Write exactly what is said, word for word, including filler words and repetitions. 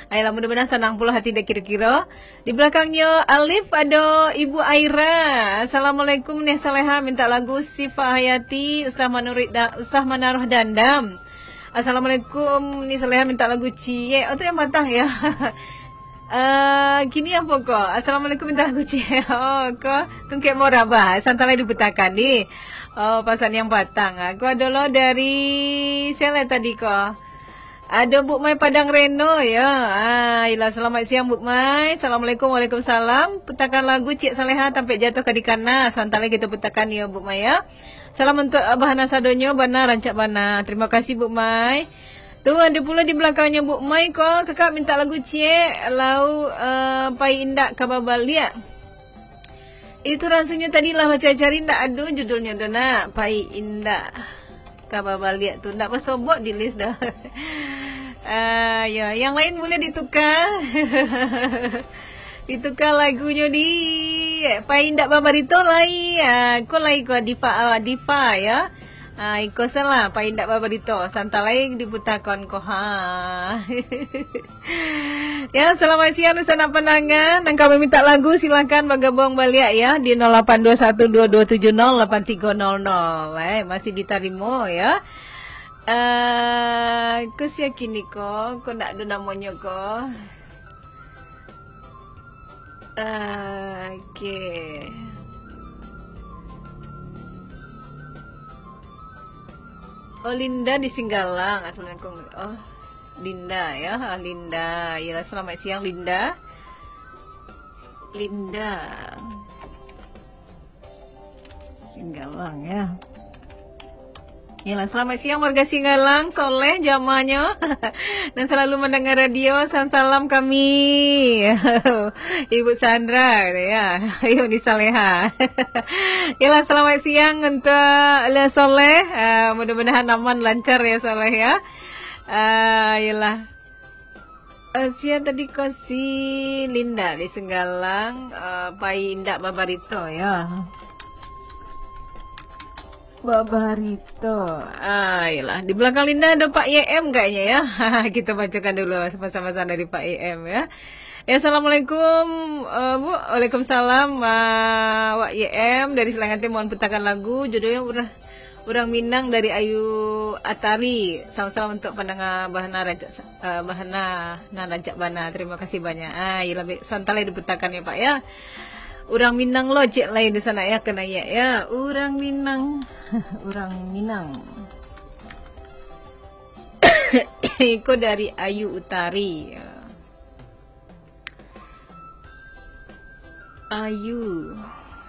Ayolah, mudah-mudahan sanang pulo hati dek kiro-kiro. Di balakangnyo Alif ado Ibu Aira. "Assalamualaikum, Nih Saleha, minta lagu Syifa Hayati, Usah Manuruik Da-, Usah Manaruh Dandam." "Assalamualaikum, Nih Saleha, minta lagu ciek." Oh, tu yang patang, yo. Eh, kini apo ko? "Assalamualaikum, minta lagu ciek." Oh, ko tungkek murah bah. Santai lai diputakan, di. Oh, pasan yang patang. Ko ado lo dari sia lai tadi ko? Ado Buk Mai Padang Reno, yo. Ah, iyolah, selamat siang, Buk Mai. Assalamualaikum, waalaikumsalam. Putakan lagu Ciek Saleha, Tampek Jatuah ka Dikana. Santai lai kito putakan, yo, Buk Mai, yo. Salam untuk Abah Hana sadonyo, bana rancak bana. Terima kasih, Buk Mai. Tu, ado pulo di balakangnyo Buk Mai ko, kakak minta lagu ciek, lau, eh, Pai Indak Ka Babaliak. Itu rasanya tadi lah bacari-cari, ndak ado judulnya tu nak. Pai Indak Ka Babaliak tu ndak basobok di list dah. Ah, ya, yang lain boleh ditukar. Ditukar lagunyo di Pai Indak Babarito lai. Ah, ko lai ko Diva, ah, Diva ya. Ah, iko salah, Pai Indak Babarito. Santai lai diputakon ko ha. Ya, selamat siang, dunsanak pandanga. Nan ka mamintak lagu, silakan bagabuang baliak, ya, di nol lapan dua satu dua dua tujuh nol lapan tiga nol nol. Eh, masih ditarimo, ya. Eh, ko sia kini ko, ko ndak ado namonyo ko. Eh, oke. Oh, Linda di Singgalang. Assalamualaikum. Oh. Linda, ya. Ah, Linda. Yalah, selamat siang, Linda. Linda. Singgalang, ya. Yalah, selamat siang, warga Singgalang, Soleh, jamahnyo. Dan selalu mendengar radio, salam-salam kami. Ibu Sandra, ya. Ibu ni Saleha. Yalah, selamat siang untuk Le Soleh. Ah, mudah-mudahan aman, lancar ya, Soleh, ya. Ah, yalah. Eh, sia tadi ko si Linda di Singgalang, eh, Pai Indak Babarito, ya. Babarito. Ah, yalah. Di belakang Linda ada Pak Y M kayaknya, ya. Kita bacakan dulu pesan-pesan dari Pak Y M, ya. Ya, assalamualaikum, eh, Bu. Waalaikumsalam, ah, Wak Y M dari Selangatin, mohon putakan lagu. Judulnya Urang Minang dari Ayu Atari. Salam-salam untuk pandanga Bahana Rancak, eh, Bahana nan Rancak Bana. Terima kasih banyak. Ah, iyolah, baik. Santai lai diputakan ya, Pak, ya. Urang Minang lo, cek lai di sana ya, kena ya, ya. Urang Minang. Urang Minang. Iko dari Ayu Utari. Ayu.